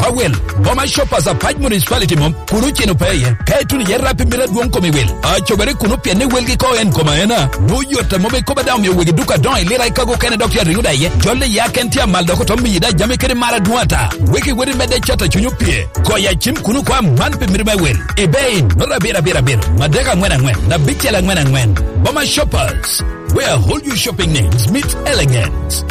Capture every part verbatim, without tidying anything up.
Awel, Boma Shoppers Apac Municipality mom, kun oceno pe iye. Ka ituno iye rap i mito adwoŋ kom i wil, acobere kuno pien ni welgi ko en kom aena. Nwoŋo yot a mom ikobo daŋ omio wegi duka adoŋo i lira ikago okene dok tye ariŋo daŋ iye. Jol iye aken tye amal dok oto miyi daŋ jami kede mar adwoŋ ata. Wek iwot i medde cat a cuny opye. Goyo acim kuno ko aman pi mito me wel. Ibe in, nota abiro abiro abiro, madek aŋwen aŋwen, abicel aŋwen aŋwen. Boma Shoppers, where all your shopping needs meet elegance.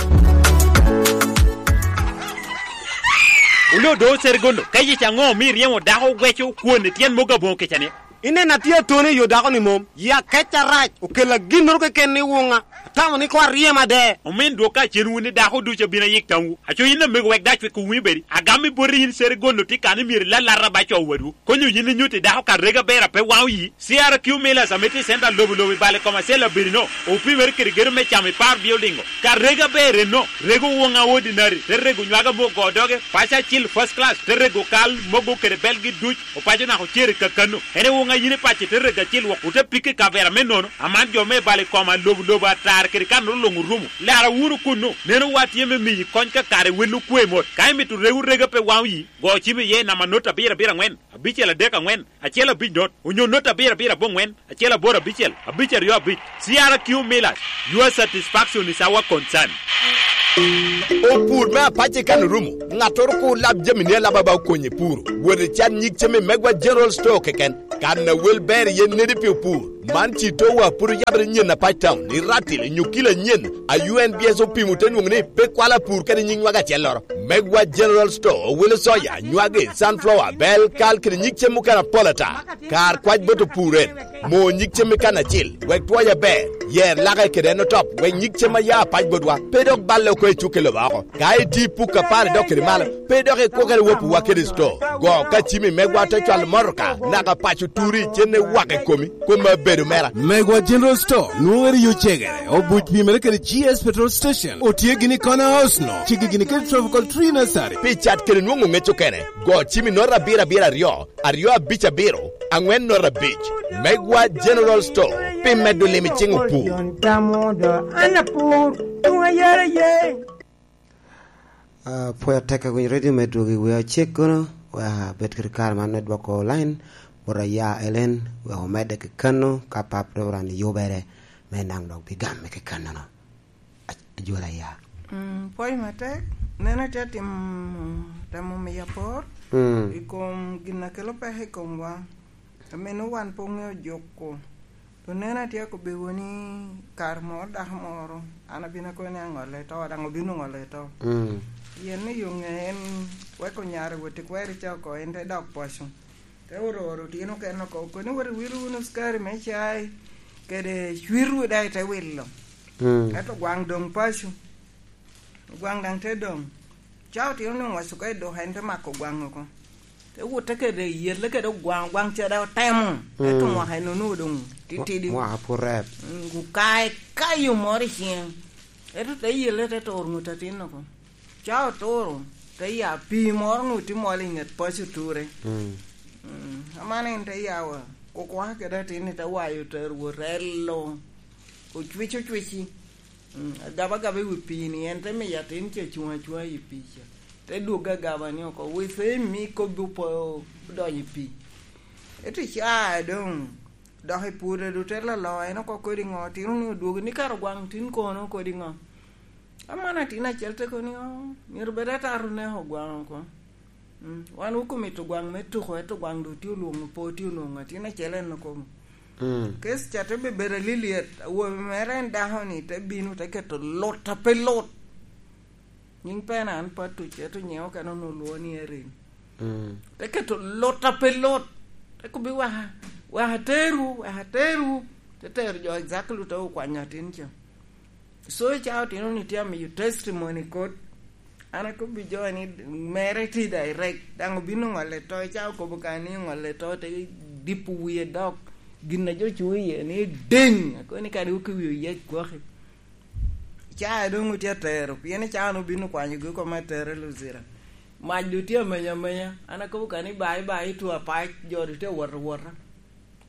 Wule odo Serigondo, ka yec aŋo omio iryemo dako weco kwon i tyen mogo aboŋo kica ni? Ineno atye atoni i yo dako ni mom, yi akec arac, okella ginnoro keken ni wuŋa, atamo ni koŋ aryem ade. Omin dwok ka cen wun ni dako ducu abino ayik tamwu, aco yin amego wek dac wek owinyo bedi, agam i boti yin Serigondo tye kan ni myero ilalata ba co wadwu, konyo yin inyutti dako ka rega ber a pe waŋo yi, C R Q Millers ame tye i center lobo lobo i bal i kom acel abirino, opimere kede gedo me camo i par building-o. Ka rego aber enno, rego woŋa ordinary, te rego nywaga me ogo doge, paco acil first class, te rego kal, mogo kede belgi duc, opaco naka ocer i kakano. En i woŋa yin i paco te rego acil wok, ote pike i kavera me nono, aman jo me bal i koma lobo lobo atar kede kanoro luŋ orumo. Lara wunu kunnu, neno wa tye me miyi kony ka kare wel okwe mot. Ka imito rego rega pe waŋo yi, go cim iye i namba not abiro abiro aŋwen, abicel adek aŋwen, acel abic not, onyo not abiro abiro aboŋwen, acel aboro abicel, abic aryo abic. C R Q Millers, your satisfaction is our concern. Opur me apac i kan orumo, ŋattoro kur lab jamini alaba ba okonye puro. Wot i can nyig cem i Megwa General Store keken. Kan a wel ber iye nedi pi opur. Man ci towa pur oyabere nyen apac town, i Ratil, nyo kilo anyen, a U N B S opimo te nwoŋo ni pe kwalo apur kede nyig nywag acelloro. Megwa General Store, owelo soya, nywagi, sunflower, bel, kal, kede nyig cem mukene apol ata. Kar kwac bot opur en, mo nyig cem i kan acil, wek twoc aber, yer lake kede en otop, wek nyig cem a ya apac botwa, pe dok balle oko i cukke lobo oko. Ka iti puk apar idok kede malo, pe dok ikwokere wopiwa kede sto. Go ka cimi megwa te cwalo motoka, naka paco turi, cenne wak i komi, kome abedo mera. Megwa General Store, nwoŋere yo cegere, obuc pimere kede G S Petrol Station, otye gini i Corner House no, cigi gini kede Tropical Tree Nursery. Pi cat kede nwoŋo ŋec okene, go cimi nota abiro abiro aryo, aryo abic abiro, aŋwen nota abic. Megwa General Store, pi medo lim i cing opur. An apur, tuŋ ayara ye. Ah, pwod atek awinyo redio me dwogo i wi acek kono, wek abed kede kare man me dwoko line, bot aya Ellen, wek omedde kekeno, ka pap dok ran yubere, me naŋ dok bigamme kekenono. Aj-, ajwala ya. Mm, pwoc matek, neno atye atimo, temo miyo apor, mm, i kom gin a kelo peko i komwa. Ameno wan pe oŋeo juko. To neno atye akobbiwu ni kare moro dako moro, an abino akobo ni aŋolle to, daŋ obino ŋolle to. Mm. Pien ni yo ŋe en weko nyare wot i kweri ca oko, en te dok paco. Te oro oro tyen okene oko, okoni wot iwilo wunu cukari me cai, kede cwitwu daŋ ite wilo. Mm. Ento gwaŋ doŋ paco. Gwaŋ daŋ te doŋ. Ca otino ni oŋwaco ka i duka, en te mako gwaŋ oko. Te wute kede yelle kede ogwaŋ, ogwaŋ ca daŋ otemo. Ento, mm, mwaka en onwoŋo doŋ titidi. Mwa-, mwaka pwod rep. Mm, okae kayo moro i ciŋe. Ento te yelle te turo ŋut atin oko. Ca oturo, te ya pii moro onwoŋo tye mol i ŋet paco ture. Mm. Mm, aman en te yawa, kukuka kede atin-ni te wayo otero wot relo. Ocwic ocwici. Mm, agaba agaba i wi pii-ni, en te miyo atin ca cuŋ acuŋa i pii ca. Te dwogge agaba ni oko, wi fe mi kobbi opo odonyo i pii. Ento ca doŋ dok i pwode du te lolo, en oko kodi ŋo, tino ni odwogo ni kara gwaŋ tin kono kodi ŋo. Aman atin acel te kono ni, "Oh, myero bed ataro neko gwaŋ oko." Mm, wan okomito gwaŋ me tuko, ento gwaŋ doŋ tye olwoŋo, pe tye onwoŋo atin acel en okobo. Mm. Kec ca te bebedo alilyet, awobi mere en dako-ni te bino, te keto lut a pe lut. Nyiŋ pena an pe atuc, ento nyiŋe okene onwoŋo olwoŋo ni Erin. Mm. Te keto lut a pe lut. Te kobbi, "Waka, waka aterwu, waka aterwu." Te tero jo exactly te okwanyo atin ca. So, ica otino ni tye amiyo testimony kot. An akobbi jo ni mere tye direct. Daŋ obino ŋolle to, ica okobo ka ni ŋolle to, te dipo wie dok. Gin a jo cuŋ iye ni ding. Akobo ni kadi wuki wie oyec gwok. Ica doŋ otye atero, pien ica an obino kwanyo gi oko me atere Luzira. Mac doŋ tye amenya amenya. An akobo ka ni bye bye to apac, jo doŋ tye awot awota.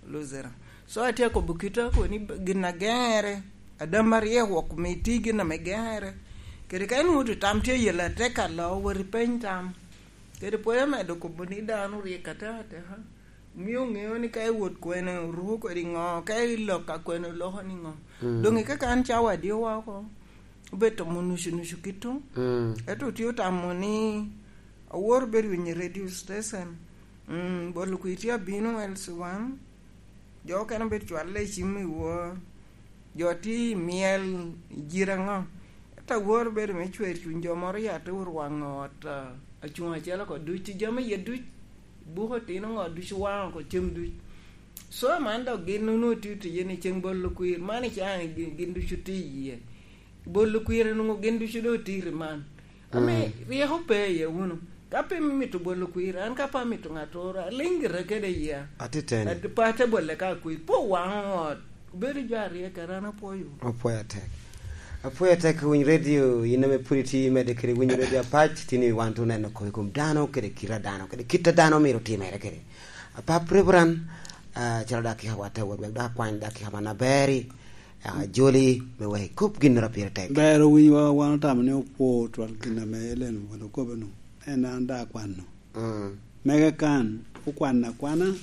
Luzira. So, atye akobo kita, akobo ni gin a geŋere, adam aryek wok mi ti gin ame geŋere. Kede ka inwoŋo to tam tye yel atek alo, wot ipeny tam. Kede pwod amedo kobo ni dano ryek atekateka. Omio oŋeo ni ka i wot kwene oruko kodi ŋo, ka i lok a kwene oloko ni ŋo. Mm. Doŋ i kaka an cawa adio woko, obedo tomo nucu-nucu kito. Mm. Ento otye otamo ni awor bedo winyo radio station. Mm, bolo kwir tye abino L C one. Jo okene obedo cwalle i cim i wor. Jo tye i myel i jira ŋo? Ento awor bedo me cwer cuny jo moro ya te orwaŋo ot, ah, acuŋ acel oko duc, jami iye duc, buko otino ŋo duc, owaŋo oko cem duc. So, man dok gin onwoŋo tye otiye ni ceng bolo kwir, man i caŋ gin, gin ducu tye iye. Bolo kwir onwoŋo gin ducu doŋ otye i man. Ame, mm, ryeko pe iye wunu. Ka pe imito bolo kwir, an ka pe amito ŋattoro, aliŋ gira kede iya. Atiteni. Ad-, pe ate bole ka kwir. Pe owaŋo ot. Obedo jo aryo kara, an apwoyo. Apwoyo atek. Apwoyo atek, winy radio, in ame pwod itye medde kede winyo radio apac, tin i wan to oneno koko i kom dano, kede kit a dano, kede kit a dano myero otimere kede. Apap Reverend, ah, calo dakika wa te wot, wek dok akwany dakika man aber-ri, ah, joli, me wek ikob ginnoro pire tek. Ber owiny wa, wan otamo ni opwo twal gin ame Ellen won okobo-nu. En an daŋ akwano. Mm. Mege kan, okwanno akwana,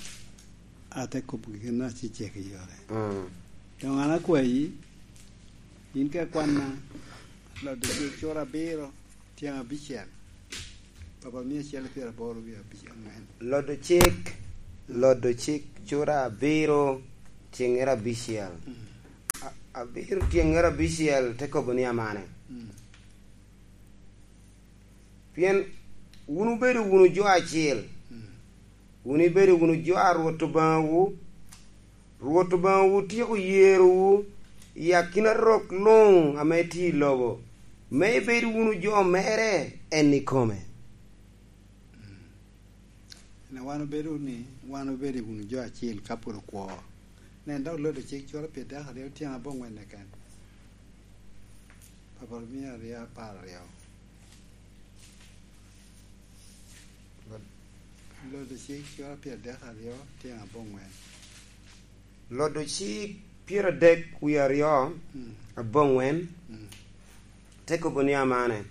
ate kobo gin acecek i yore. Mm. Doŋ an akwayi, in ka ikwanna, Lodde cik cura abiro, tyeŋ abicel. Papa mia acel pyeraboro wie abic-, angwen. Lodde cik, Lodde cik cura abiro, tyeŋŋere abicel. Mm. A-, abiro tyeŋŋere abicel, te kobo ni amane. Mm. Pien wun wubedo wunu jo acil. Mm. Wun ibedo wunu jo a Rwot Obaŋawu. Rwot Obaŋawu otyeko yerowu i akina rok luŋ ame tye i lobo, me ibed wunu jo mere en ikome. Mm. Ene wan obedo ni, wan obedo wunu jo acil ka pwod okwo. Nen, dok Lodde cik cura pyerdek aryo tyeŋ aboŋwen keken. Papa mia aryo apar aryo. Lodde cik cura pyerdek aryo tyeŋ aboŋwen. Lodde cik pyeradek wie aryo, mm, aboŋwen. Mm. Te kobo ni amane.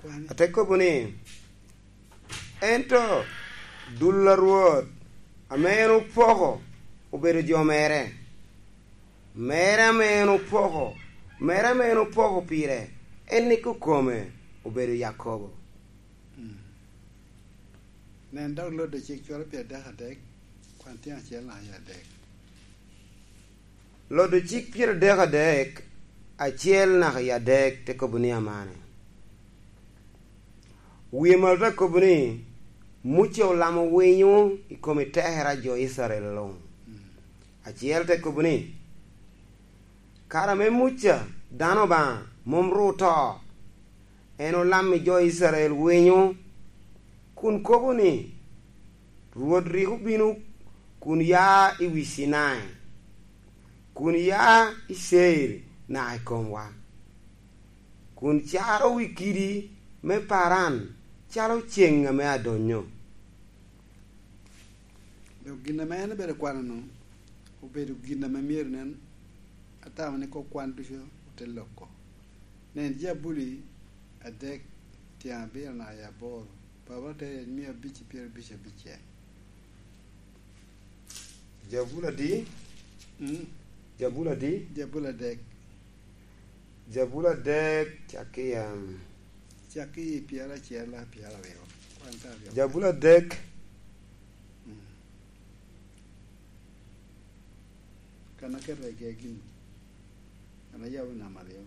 Kwan. Ate kobo ni, ento dul a Rwot ame en opoko obedo jo mere. Mere ame en opoko, mere ame en opoko pire, en ni kokome obedo Yakobo. Mm. Nen dok Lodde cik cura pyerdek adek, kwan tyen acel naka i adek. Lodde cik pyerdek adek, acel naka i adek, te kobo ni amane. Wie malo te kobo ni, Muca olamo winyo i kom etekere a jo Icrael luŋ. Mm. Acel te kobo ni, kare ame Muca, dano Obaŋa, mom ru oto, en olammi jo Icrael winyo, kun kobo ni, Rwot rik obino kun ya i wi Cinai, kun ya i Ceir naka i komwa, kun caro wi kidi me Paran calo ceŋ ame adonyo. Dok gin ame en obedo kwano-nu, obedo gin ame myero nen, atamo ni kok kwan ducu ote loko. Nen, Jabuli adek, tyen abiro naka i aboro, Papa te yec mia abic i pyerabic abicel. Jabuli adi? Mm. Jabuli adi? Jabuli adek. Jabuli adek, cak i, um, cak i pyeracel, a, pyeraryo. Kwan ka aryo. Jabuli adek. Mm. Kan aketo i gegi. Kan ayabo namba aryo.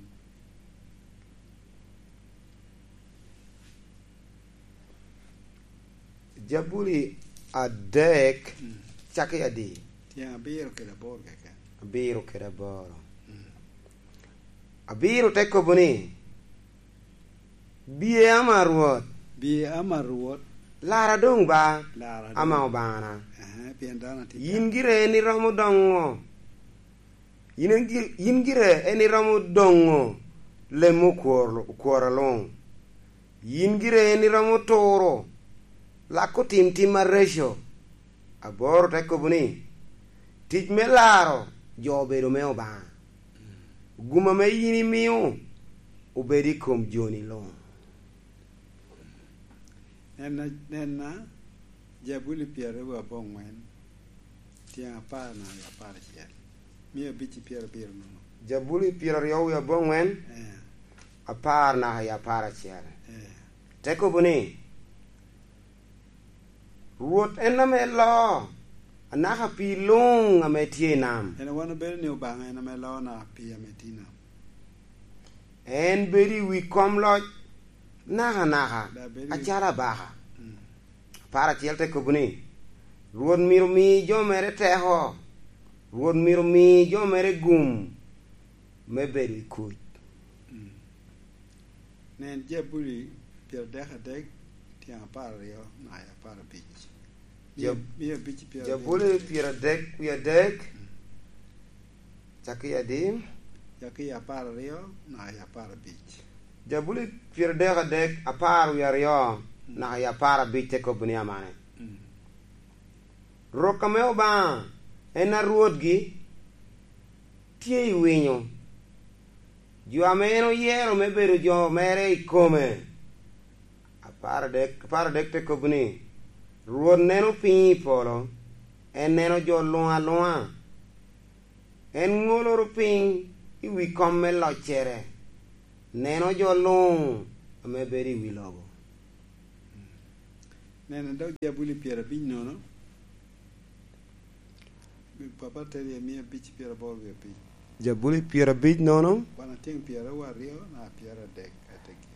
Jabuli adek, mm, cak i adi? Tyen abiro kede aboro keken. Abiro kede aboro. Mm. Abiro te kobo ni, "Biye ama Rwot." Biye ama Rwot. "Lara doŋ ba, lara doŋ, ama Obaŋana." Ehe, pien dano atye yin ka. Gire en iromo doŋo. Yin en gi-, yin gire en iromo doŋo lem okwor-, okwora luŋ. Yin gire en iromo turo, lako tim tim areco. Aboro te kobo ni, "Tic me laro jo obedo me Obaŋa." Gum ame yin imio obed i kom joni luŋ. Nenna, nenna, Jabuli pyeraryo aboŋwen, tyeŋ apar naka i apar acel, mia abic i pyerabiro nono. Jabuli pyeraryo wie aboŋwen, Eh, apar naka i apar acel. Eh. Te kobo ni, Rwot en ame loo anaka pii luŋ ame tye i nam. En wan obedo ni Obaŋa en ame loo naka pii ame tye i nam. En bedo i wi kom loc nakanaka, Da bedo i wi acalo abaka. Mm. Apar acel te kobo ni, Rwot myero mi jo mere teko, Rwot myero mi jo mere gum me bedo i kuc. Mm. Nen, Jabuli pyeradek adek, tyeŋ apar aryo naka i apar abic. Mia, Jab-, mia abic i pyeradek. Jabuli pyeradek wie adek, Mm. cakki i adi? Cakki i apar aryo naka i apar abic. Jabuli pyeradek adek, apar wie aryo Mm. naka i apar abic te kobo ni amane. Mm. Rok ame Obaŋa en a Rwotgi tye i winyo, jo ame en oyero me bedo jo mere i kome. Apar adek, apar adek te kobo ni, Rwot neno piny i polo, en neno jo luŋ aluŋa. En ŋoloro piny i wi kom me loccere, neno jo luŋ ame bedo i wi lobo. Neno dok Jabuli pyerabic nono. Papa teri mia abic pyeraboro wie abic. Jabuli pyerabic nono. Wan atyeŋ pyeraryo aryo na pyeradek ateggi.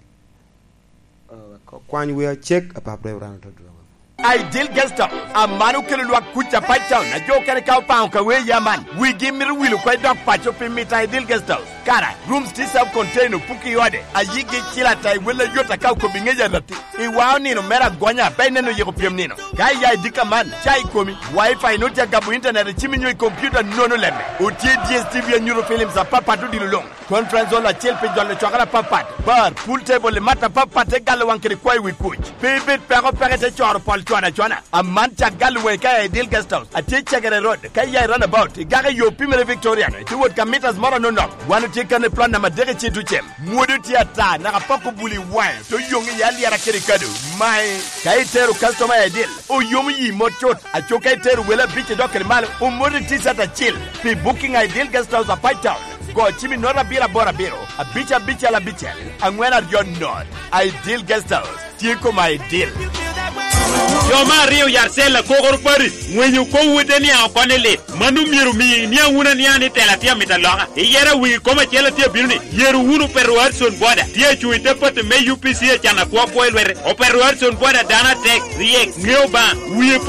Oh, kwany wi acek, apap Reverend Todwoko. Ideal Guest House, aman okelo lwak kuc a Pine Town, a jo okene ka opaŋo ka wee ya man. Wigi mito wil oko i dok paco pi mito Ideal Guest House. Kara, rooms tye self-contained, opuki i ode, a yigi cil ata i wel a yot aka okobo i ŋec a ratti. I wao nino mere agonya, pe ineno yiko pyem nino. Ka iya i dika man, ca i komi, Wi-Fi nwoŋo tye agabo internet i cimi nyo i kompiuta, nono lemme. Otye D S T V anyuto films apapat odilo luŋ. Conference hall acel pi jolo cwakere apapat. Bar, pool table i mat apapat te galo waŋ kede kwayo wi kuc. Pe ibed peko peke te coro pol cwana cwana. Aman cak galo waŋi ka iya i Ideal Guest House. Atye i Cegere Road. Ka iya i runabout, igako i yo pimere Victorian, itye wot ka mitas moro anono. Wan otye kan i plot namba adek i Cito Cem. Mwodo tye ata, naka pok obuli i waŋe, te oyoŋ iye alyera kede kado. Mae, ka itero customer i Ideal, oyomo yi mot cut. Aco ka itero wele abic i dok kede malo, omoti T-shirt acil. Pi booking a Ideal Guest House a Pine Town, go cim i note abiro aboro abiro, abic abicel abicel, aŋwen aryo note. Ideal Guest House, tye koma Ideal. Jo me aryo yat cel akokoro pati, ŋwenyo kowu te niaŋ oko ni lit. Mano myero omi iniaŋ wunu aniaŋa ni tela tye amito aloka. Iyero wigi kom acel atye abino ni, yero wunu Opeto Hudson Boda. Tye acuŋ i te pati me U P C acan akwo akwo i lwete. Opeto Hudson Boda dano atek, ryek, ŋeo Obaŋa, wie